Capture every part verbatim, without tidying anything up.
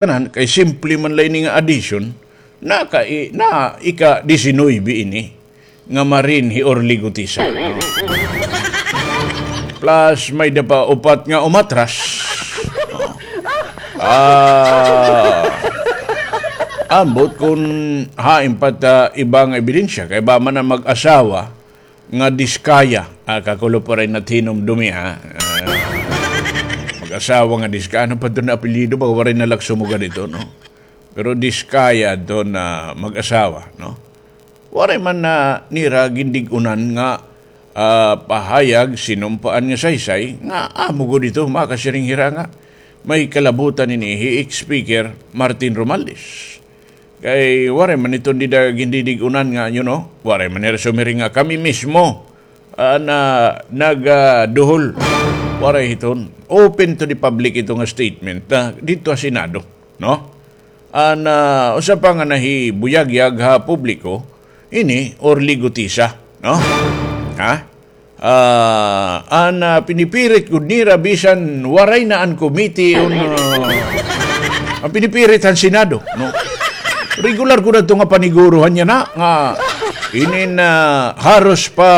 tanan, kay simple man la ini nga addition, na ka-, na ika-disinuybe ini nga Marine hi Orly Gutisa. Plus, may-ada pa upat nga umatras. Ah, ambot kon hain pa it, ah, iba nga ebidensya, kay ba man an mag-asawa nga Diskaya. Ah, kakulop, waray na it hinumdumi, ha? Ah, mag-asawa nga Diskaya. Ano pa iton nga apelyido? Baka waray na la ak sumugad hito, no? Pero Diskaya iton nga mag-asawa, no? Waray man na nira gindig-unan nga, ah, pahayag, sinumpaan nga saysay, nga amo gud ito, makasiring hira nga may kalabutan ini hi ex-speaker Martin Romualdez. Kay waray man iton dida gindidig-unan nga, you know, waray man nira sumiring nga kami mismo, ah, na nag, ah, duhol. Waray iton. Open to the public ito nga statement, ah, didto ha Senado, no? An, ah, usa pa nga nahibuyagyag ha publiko, ini Orly Gutisa, no? Ha? Ah, an, ah, pinipirit gud nira bisan waray na an committee on, ah, an pinipirit han Senado, no? Regular gud adto nga paniguruhan niya na nga inin, ah, haros pa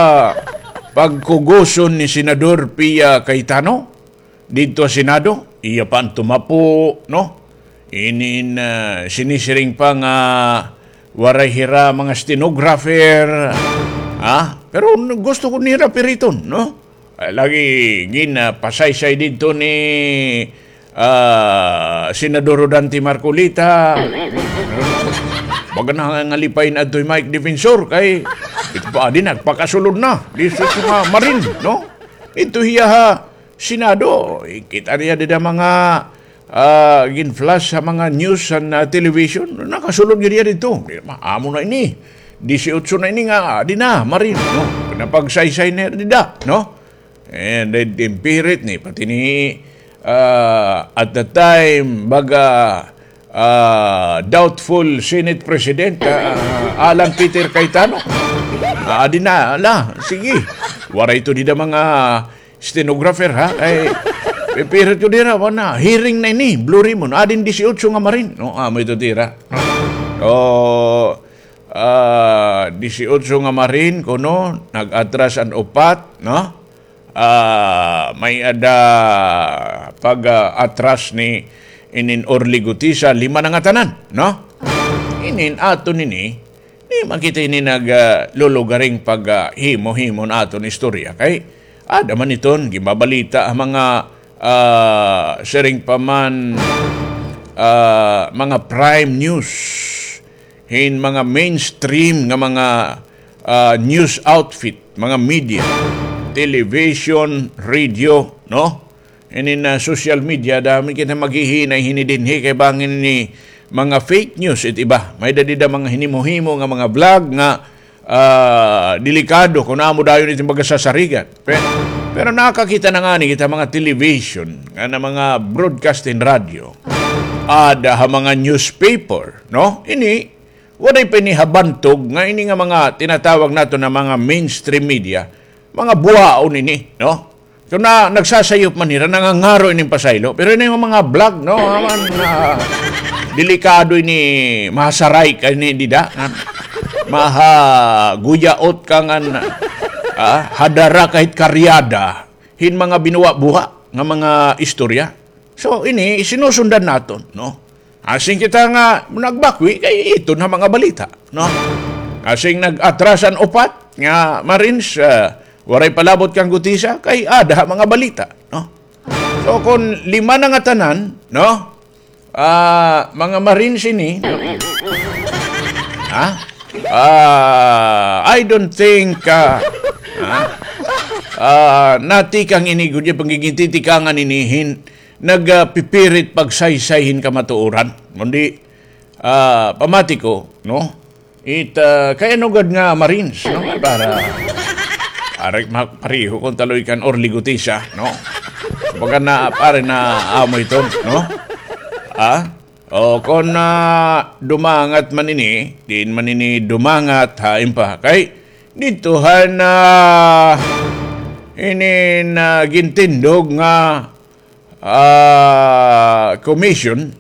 pagkugoson ni Senador Pia Cayetano didto ha Senado, iya pa an tumapo, no? Inin, ah, sinisiring pa nga waray hira mga stenographer, ha? Pero gusto gud nira piriton, no? Ah, lagi gin, ah, pasaysay didto ni, ah, Senador Rodante Marcoleta. Baga na nga nalipay na adto hi Mike Defensor kay ito pa adi nagpakasulod na. Didto ha mga Marine, no? Ito hiya ha Senado, kita niya dida mga, ah, gin-flash ha mga news han, ah, television. Nakasulod gud hiya didto. Di, ma-, amo na ini. Disiotso na ini nga, ah, adi na, Marine, no? Napagsaysay na dida, no? And then, impirit ni, pati ni, ah, at the time, baga, ah, doubtful Senate President, ah, Alan Peter Cayetano. Ah, adi na, ala, sige. Waray ito dida mga stenographer, ha? Ay, pipirit ko dira, wana, hearing na ini, Blue Ribbon. Adi an disiotso nga Marine, no? Amo ito dira. O, ah, disiotso nga Marine, kuno, nag-atras an upat, no? Ah, may-ada pag, ah, atras ni inin Orly Gutisa, lima na ngatanan, no? Inin aton ini, di man kita ini nag, ah, lulugaring pag, ah, himo-himo han aton istorya. Kay, ada man iton, ginbabalita ha mga, ah, siring pa man, ah, mga prime news. hin mga mainstream nga mga, ah, news outfit, mga media, television, radio, no? Hinin, ah, social media, damo kita maghihinay hini dinhi kay bangin ini mga fake news it iba. May-ada dida mga hinimo-himo nga mga vlog nga, ah, delikado kon amo dayon it baga sasarigan. Pe-, pero nakakita na ngani kita mga television, nga na mga broadcasting radio. Ada ha mga newspaper, no? Ini, waray pa ini ha bantog nga ini nga mga tinatawag naton nga mga mainstream media, mga buhaon ini, no? So, na, nagsasayop man hira, nangangaro ini pasaylo. Pero ini nga mga vlog, no? Aman, ah, delikado ini, mahasaray ka ini dida. Mahaguyaot ka ngan, ah, hadara ka hit karyada hin mga binuha-buha nga mga istorya. So, ini, sinusundan naton, no? Asing kita nga nagbakwi, kay iton ha mga balita, no? Asing nag-atras an upat nga Marines, ah, waray palabot kan Gutisa, kay ada ha mga balita, no? So, kon lima na ngatanan, no? Ah, mga Marines ini, ha? Ah, I don't think, ah, ha? Ah, natikang ini, gud, pagigintitikangan ini hin, nagpipirit pagsaysay hin kamatuoran. Kundi, ah, pamati ko, no? It, ah, kay ano gad nga Marines, no? Para, para ma-, pareho kon taloy kan Orly Gutisa, no? Kumbaga na, pare na amo ito, no? Ah? O, kon, ah, dumangat man ini, diin man ini dumangat, hain pa. Kay, didto han, ah, ini na gintindog nga ah, commission,